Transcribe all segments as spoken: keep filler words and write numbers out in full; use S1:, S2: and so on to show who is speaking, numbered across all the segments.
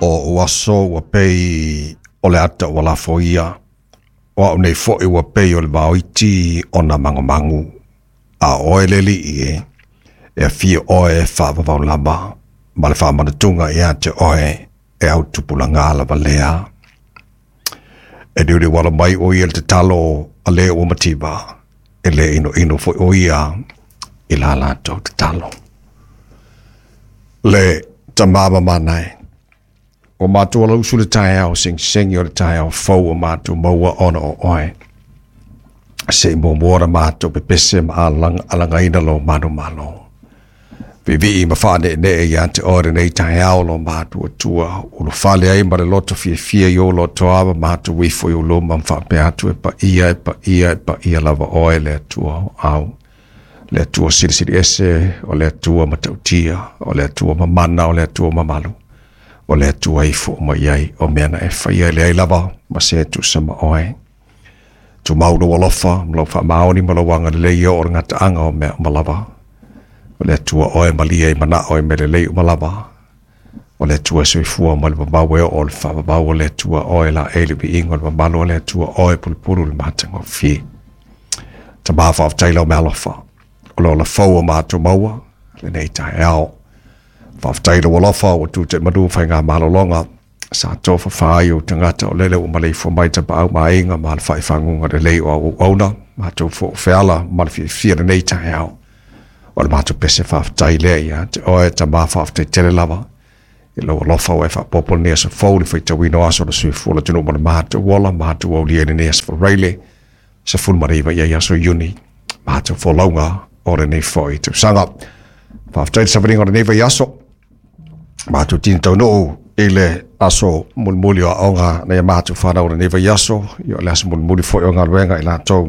S1: O ua aso ua pei o le ata ua lafoia, o au nei fo'i ua pei o le vaoiti ona magomagu, a oe le Alii e, e afio oe e faavavau lava, ma le faamanatuga ia te oe e au tupulaga lava lea. E liuliu ala mai o ia le tatalo a le ua mativa, e le inoino foi o ia i la latou tatalo. Le tamama manae, o mātou ala usu le taeao, segisegio le taeao fou o mātou maua ona o oe. Se i muamua na mātou pepese ma alagaina lo manu malo. Viivii ma faaneenee ia te oe lenei taeao lo mātou Atua, ulufale ai ma le loto fiafia i o loto ma mātou ifo i o luma faapea atu e paia e paia e paia lava oe le Atua o au. Le Atua silisili ese, o le Atua matautia, o le Atua mamana, o le Atua mamalu. O le Atua ifo mai ai, o mea na e faia le ai lava, ma se tusa ma oe. Tumau lo alofa, ma lau faamaoni ma lau agalelei o le gataaga o mea uma lava. O le Atua oe malia i manao i mea lelei uma lava. O le Atua soifua ma le mamau e oo le faavavau o le Atua oe la e le viiga o le mamalu o le Atua oe pulupulu le matagofie. Tamā faafetai lau mealofa, o le ola fou o mātou maua, lenei taeao. Faafetai lau alofa ua tu te manu whai malologa sa tofa fai o tangata o lele o maleifua mai tapaau ma aiga ma le faaifaguga lelei o auauauna matou foofeala ma le fiafia lenei taeao. O le matou pese faafetai lea ia te oe tamā faafetai tele lava. I lau alofa ua e faapopo lenei aso fou le faitauina o aso o le soifua le atunuu ma le matou ola matou aulia i lenei aso Faraile sefulu ma le iva i aso Iuni matou folauga o lenei foi tausaga. Faafetai le savaliga o lenei vaiaso. Mātou tini taunuu i le aso mulimuli o aoga nei mātou whanau o lenei vaiaso, i o le aso mulimuli foi o galuega i latou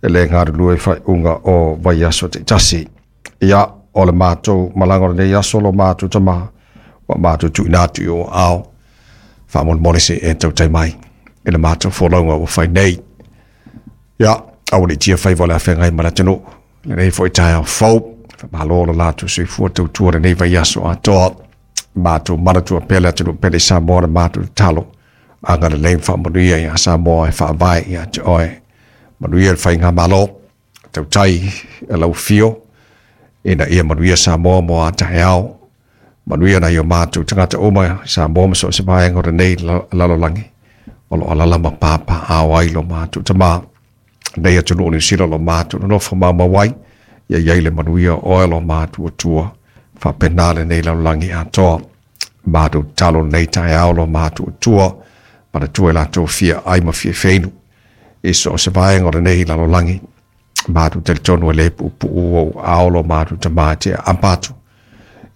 S1: e le galulue i faaiuga o vaiaso taitasi. Ia, o le mātou malaga o lenei aso lo mātou tama, ua mātou tuuina atu i o ao, faamolemole se e tautai mai i le mātou folauga ua fai nei. Ia, aua le tia faiva o le afeagai ma le atunuu, lenei foi taeao fou, faamalo le latou soifua tautua lenei vaiaso atoa. Mātou manatua pea le atunuu pele i Samoa le mātou tatalo. Agalelei ma faamanuia ia Samoa e faavae ia te oe. Manuia le faigamalo, tautai e lau fio, ina ia manuia Samoa mo a taeao. Manuia nai o mātou tagata uma Samoa ma so o se vaega o lenei lalolagi. O lo alala ma pāpāao ai lo mātou tamā. Nei atunuu o Niu Sila lo mātou nonofo maumau ai, ia iai le manuia o oe lo mātou Atua. Faapena lenei lalolagi atoa. Mātou tatalo lenei taeao lo mātou Atua, manatua i latou fia ai ma fia feinu. I so o se vaega o lenei lalolagi. Mātou talitonu e le puupuu o ao lo mātou tamā te aapa atu.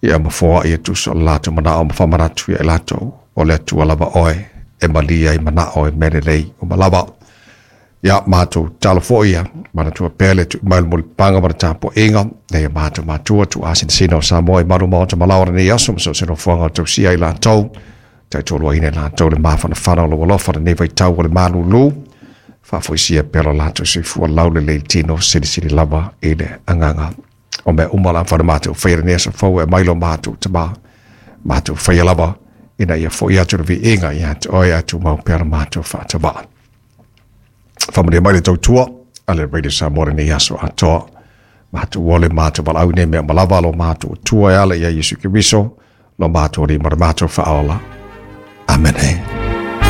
S1: Ia mafoa ia tusa o le latou manao ma faamanatu ia i latou o le Atua lava oe e malia i manao e mea lelei uma lava. Ia mātou tatalo foi ia manatua pea le tuuina mai o le mulipapaga ma le tapuaiga nei o mātou matua tuuasinasina o Samoa i malu maota malaoa lenei aso ma so o se nofoaga o tausia i latou. Taitoluaina i latou le mafanafana o lau alofa lenei vaitau o le malūlū. Faafoisia pea lo latou soifua laulelei i tino silisili lava i le agaga. O mea uma la whana mātou whaia lenei aso fou e mai lo mātou tamā. Mātou whaia lava ina ia foi atu le viiga ia te oe atu mau pea le mātou whaatawaa. Whamanuia mai le tautua a le Radio Samoa lenei aso atoa. Mātou ole mātou valaau nei mea malava lo mātou Atua e ala ia Iesu Keriso lo mātou Alii ma le mātou Faaola. Amene.